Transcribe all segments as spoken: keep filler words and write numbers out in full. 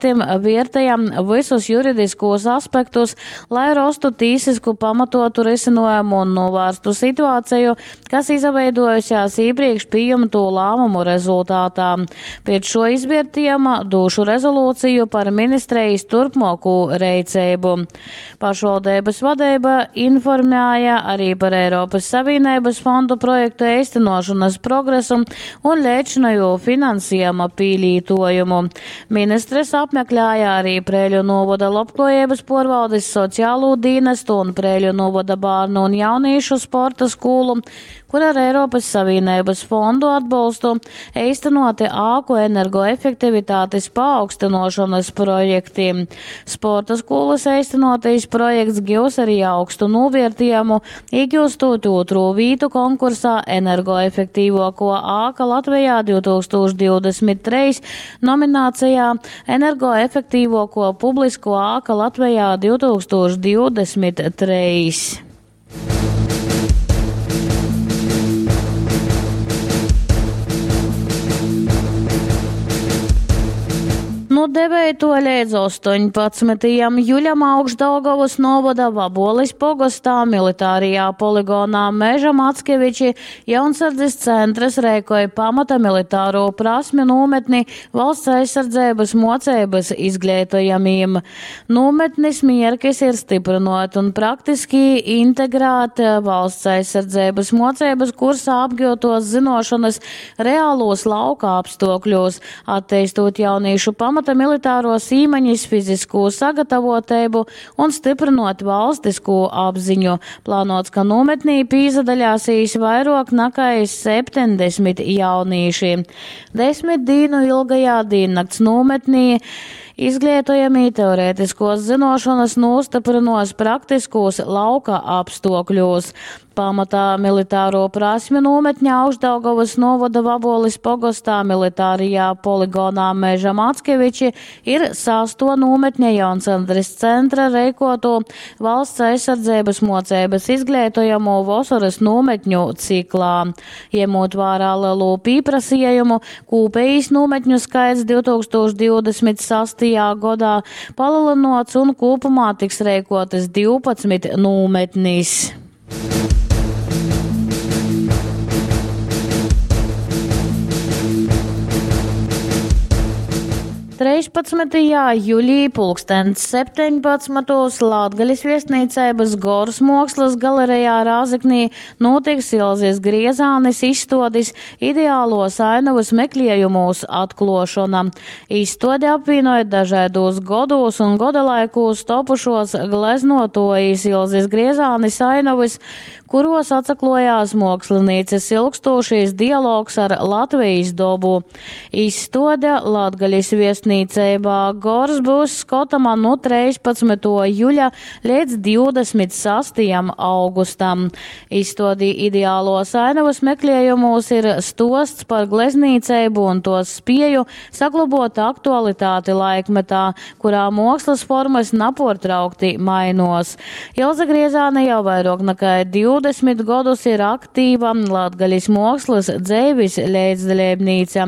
Viertejam vysus juridiskūs aspektus, lai rostu tīsisku pamatotu risinājumu un novērstu situāciju, kas izveidojusies iepriekš pieņemto lēmumu rezultātā. Pēc šo izvērtējuma došu rezolūciju par ministrijas turpmāko reiceibu. Pašvaldības vadība informēja arī par Eiropas Savienības fondu projektu īstenošanas progresu un lēčinājo finansējuma pīlītojumu. Ministres apmeklēja arī Prēļu novada lobklājības porvaldes sociālo dienestu un Prēļu novada bērnu un jauniešu sporta skolu, kur ar Eiropas Savienības fondu atbalstu īstenoti āku energoefektivitātes paaugstinošanas projekti. Sporta skolas īstenotais projekts givs arī augstu novērtējumu, iegūstot otro vītu konkursā energoefektīvāko āka Latvijā divtūkstoš divdesmit trīs nominācijā energoefektīvāko publisko āka Latvijā divtūkstoš divdesmit trīs. No devēto līdz astoņpadsmitajam juļam Augšdaugavas novada Vaboles pogostā militārajā poligonā Meža Mackeviči jaunsardzes centrs rēkoja pamata militāro prasmju nometni valsts aizsardzības mocības izglītojamiem. Nometnis mierkis ir stiprinot un praktiski integrēt valsts aizsardzības mocības kursā apgūtos zinošanas reālos lauka apstākļos, attīstot jauniešu pamata militāros īmaņas, fizisko sagatavotību un stiprinot valstisko apziņu. Plānots, ka nometnī pīzadaļāsīs vairāk nekā septiņdesmit jaunieši. Desmit dienu ilgajā diennakts nometnī izglītojamī teorētiskos zinošanas nostiprinos praktiskos lauka apstākļos. Pamatā militāro prasmju nometņa Augšdaugavas novada Vaboles pogostā militārajā poligonā Meža Mackeviči ir sasto nometņa Jaunsandres centra reikoto valsts aizsardzības mocības izglītojamo vasaras nometņu ciklā. Iemot vērā lielo pieprasījumu, kūpējas nometņu skaits divtūkstoš divdesmit sastajā gadā palielināts un kopumā tiks reikotas divpadsmit nometnis. Trīspadsmitajā jūlijā pulkstens septiņpadsmitos Latgales viesnīcības Gors mākslas galerijā Rāzeknī notiks Ilzes Griezānes izstādes ideālos ainavas meklējumos atklošana. Izstāde apvienoja dažādos godos un godalaikos topušos gleznotojas Ilzes Griezānes ainavas, kuros atsaklojās mākslinieces ilgstošais dialogs ar Latvijas dobu. Izstāde Latgales viesnīcībā Gors būs skatama no trīspadsmitā jūļa līdz divdesmit sastajam augustam. Izstādī ideālos ainavas meklējumos ir stosts par gleznīcību un tos spēju saglabot aktualitāti laikmetā, kurā mākslas formas naportraukti mainos. Ilze Griezāne jau vairāk nekā divdesmit gadus ir aktīva Latgales mākslas dzēvis līdzdalībnīca.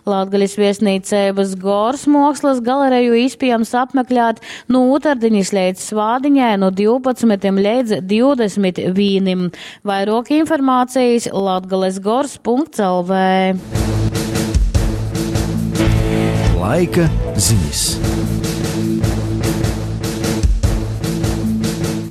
Latgales viesnīcības Gors mākslas galereju iespējams apmeklēt no otrdiņas līdz svādiņai no divpadsmitiem līdz divdesmit vienam. Vairāk informācijas latgales gors punkts L V. Laika ziņas.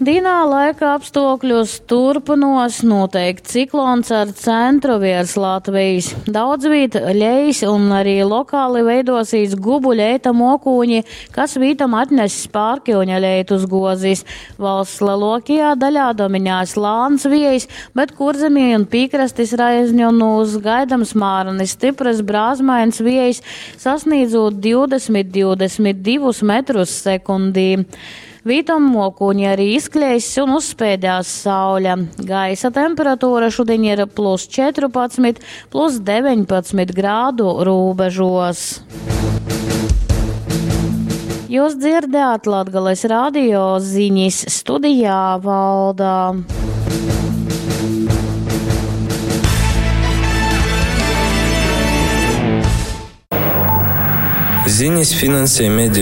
Dienā laika apstākļus turpinos noteikti ciklons ar centru virs Latvijas. Daudz vīt ļejas un arī lokāli veidosīs gubu ļeita mokūņi, kas vītam atness pārkiuņa ļeitus gozis. Valsts lielākajā daļā dominēs lāns vējs, bet kurzemī un piekrastes raizņonos gaidams mārani stipras brāzmains vējs, sasniedzot divdesmit, divdesmit divus metrus sekundī. Vītam mokūņi arī izkļēs un uzspēdās saule. Gaisa temperatūra šodien ir plus četrpadsmit, plus deviņpadsmit grādu robežos. Jūs dzirdējāt Latgales radio ziņas studijā Valdā. Zinis finansej medeju